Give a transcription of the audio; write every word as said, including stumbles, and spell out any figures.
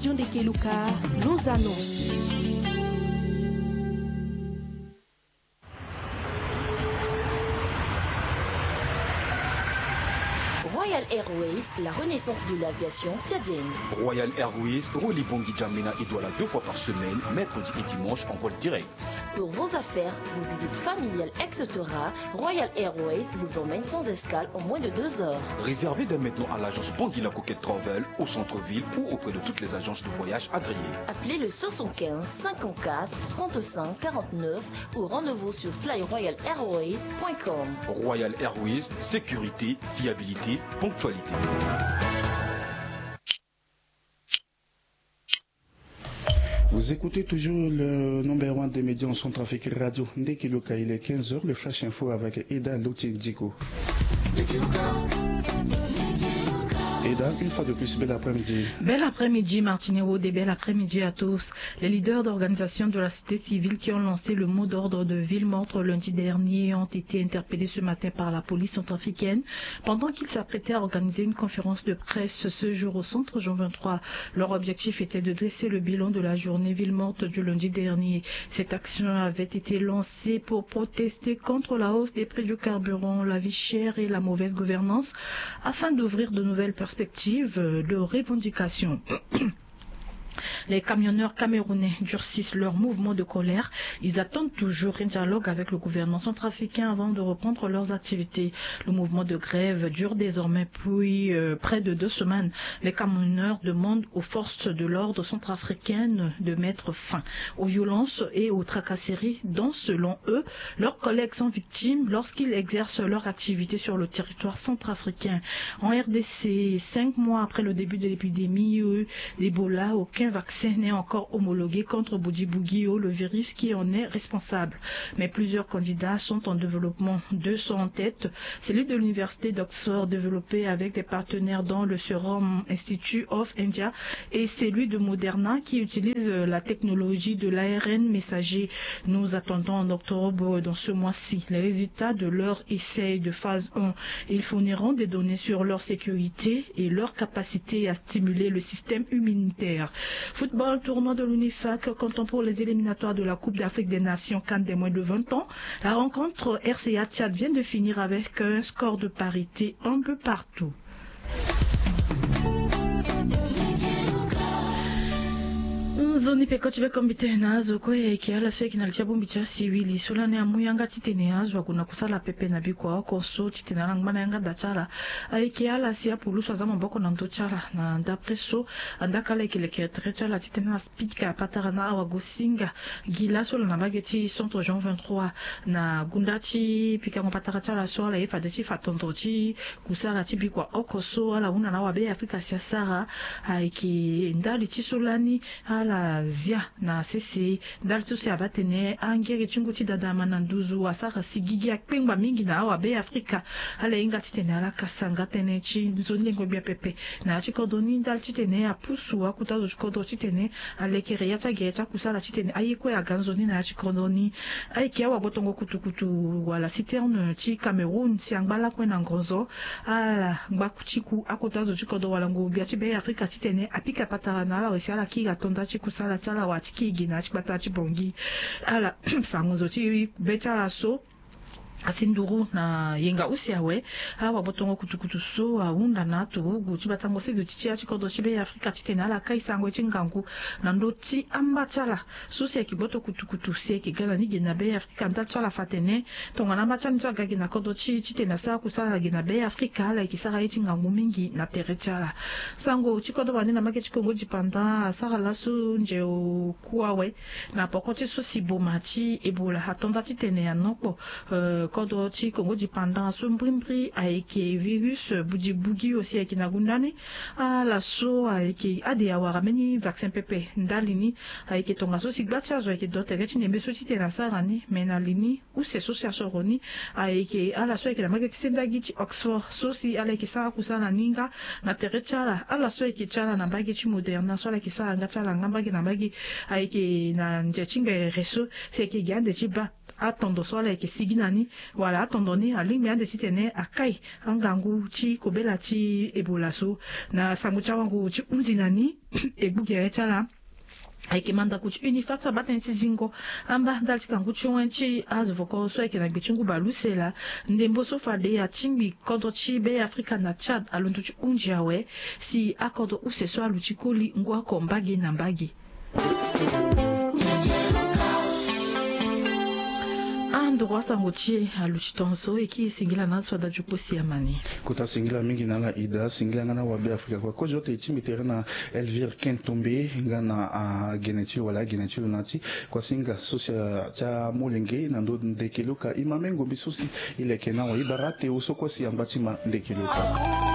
John de Keluka, Los Anons. Royal Airways, la renaissance de l'aviation tchadienne. Royal Airways relie Bangui N'Djamena et Douala deux fois par semaine, mercredi et dimanche en vol direct. Pour vos affaires, vos visites familiales, et cetera, Royal Airways vous emmène sans escale en moins de deux heures. Réservez dès maintenant à l'agence Bangui La Coquette Travel au centre-ville ou auprès de toutes les agences de voyage agréées. Appelez le soixante-quinze cinquante-quatre trente-cinq quarante-neuf ou rendez-vous sur fly royal airways point com. Royal Airways, sécurité, fiabilité, ponctualité. Vous écoutez toujours le number one des médias en Centrafrique, Radio Ndekiluka. Il est quinze heures, le Flash Info avec Eda Loti Diko. Eda, une fois de plus, bel après-midi. Bel après-midi, Martine Wode, bel après-midi à tous. Les leaders d'organisations de la société civile qui ont lancé le mot d'ordre de ville morte lundi dernier ont été interpellés ce matin par la police centrafricaine pendant qu'ils s'apprêtaient à organiser une conférence de presse ce jour au centre Jean vingt-trois. Leur objectif était de dresser le bilan de la journée ville morte du lundi dernier. Cette action avait été lancée pour protester contre la hausse des prix du carburant, la vie chère et la mauvaise gouvernance, afin d'ouvrir de nouvelles perspectives de revendication. Les camionneurs camerounais durcissent leur mouvement de colère. Ils attendent toujours un dialogue avec le gouvernement centrafricain avant de reprendre leurs activités. Le mouvement de grève dure désormais depuis, euh, près de deux semaines. Les camionneurs demandent aux forces de l'ordre centrafricaines de mettre fin aux violences et aux tracasseries dont, selon eux, leurs collègues sont victimes lorsqu'ils exercent leur activité sur le territoire centrafricain. En R D C, cinq mois après le début de l'épidémie, euh, d'Ebola, aucun vaccin n'est encore homologué contre Bundibugyo, le virus qui en est responsable. Mais plusieurs candidats sont en développement. Deux sont en tête, celui de l'université d'Oxford développé avec des partenaires dont le Serum Institute of India et celui de Moderna qui utilise la technologie de l'A R N messager. Nous attendons en octobre, dans ce mois-ci, les résultats de leur essai de phase un. Ils fourniront des données sur leur sécurité et leur capacité à stimuler le système immunitaire. Football, tournoi de l'UNIFAC, comptant pour les éliminatoires de la Coupe d'Afrique des Nations CAN des moins de vingt ans. La rencontre R C A Tchad vient de finir avec un score de parité un peu partout. Nzoni peko ti be kombi tene na azo kue ayeke ala so ayeke na li ti abongbi ti asiwili so lani amu yanga titene azo ague na kusala pepe na bikua oko so titene ala ngba na yanga da ti ala. Ayeke ala si apulusu aza maboko na ndö ti ala na ndapre so andaka ala ayeke leke tere ti ala titene ala pika patara na awagosinga gi laso ala na mbage ti centre Jean vingt-trois na gunda ti pikango patara ti ala so ala ye fade ti fa tondro ti kusala ti bikua oko so ala hunda na awabe Afrika si asara. Ayeke ndali ti so lani ala zia na sese ndali ti so si abaa tene angere ti ngu ti dada ama na nduzu asara si gigi akpengba mingi na awabe Afrika. Ala hinga titene ala kasa nga tënë ti nzoni lengo gbia pepe na ya ti kodro ni ndali titene apusu akuta zo ti kodro titene alekere ya ti agere ti akusala titene aye kue aga nzoni na ya ti kodro ni. Ayeke awabotongo kutukutu wala citerne ti Cameroun si angba lakue na ngonzo ala ngba ti ku akota zo ti kodro wala ngu gbia ti be Afrika titene apika patara na ala wala si ala kiri atonda ti kusala ti ala wala ti kiri gi na ya ti gbata ti Bangui. Ala fa ngonzo ti be ti ala so asi nduru na yenga use awe. Awabotongo kutukutu so ahunda na aturugu ti batango sezo ti ti ya ti kodro ti be Afrika titene ala kai sango ye ti ngangu na ndö ti amba ti ala so si ayeke gboto kutukutu si ayeke ga na ni gi na be Afrika ndali ti ala fa tene tongana amba ti ala ni so aga gi na kodro ti e titene asara kusala gi na be Afrika ala yeke sara ye ti ngangu mingi na tere ti ala. Sango ti kodro wande na mbage ti Kongo dipanda asara laso nze oku awe na poko ti so si boma ti Ebola atonda titene anokpo. Eh, kodro ti Kongo dipanda so mbrimbri ayeke virus bujibugi osi ayeke na gunda ni. Ala so ayeke ade awara mbeni vaccin pepe ndali ni. Ayeke tongaso si gba ti azo ayeke do tere ti nembe so titene asara ni me na li ni use so si asoro ni ayeke ala so ayeke na mbage ti sendagi ti Oxford so si ala yeke sara kusala ni nga na tere ti ala ala so ayeke ti ala na mbage ti Moderna so ala yeke sara nga ti ala nga mbage na mbage. Ayeke na nze ti ngbere so si ayeke gi ande ti baa atondo so ala yeke sigi na ni, wala atondo ni alingbi ande titene akai angangu ti kobela ti ebola so. Na sango ti awango ti hunzi na ni, egbu gere ti ala ayeke mandaku ti unifap so abaa tënë ti zingo amba ndali ti kangu ti wen ti azo voko so ayeke na gbe ti ngu baleuse laa. Ndembo so fade atingbi kodro ti be afrika na tchad alondo ti hunzi awe, si akodro use so aluti koli ngu oko mbage na mbage. Andoro asango ti e aluti tongaso e kiri singila na aso ada ti kosi amani. Kota singila mingi na ala ida, singila nga na wabe afrika kua kozo ota e ti mbi tere na elvire kentombe nga na agene ti lo wala agene ti lo na ti kuasinga so si ti amolenge na ndo ndeke loka e ma mengo mbi so si e leke na wa e bara te oso kue si angba ti ma ndeke loka.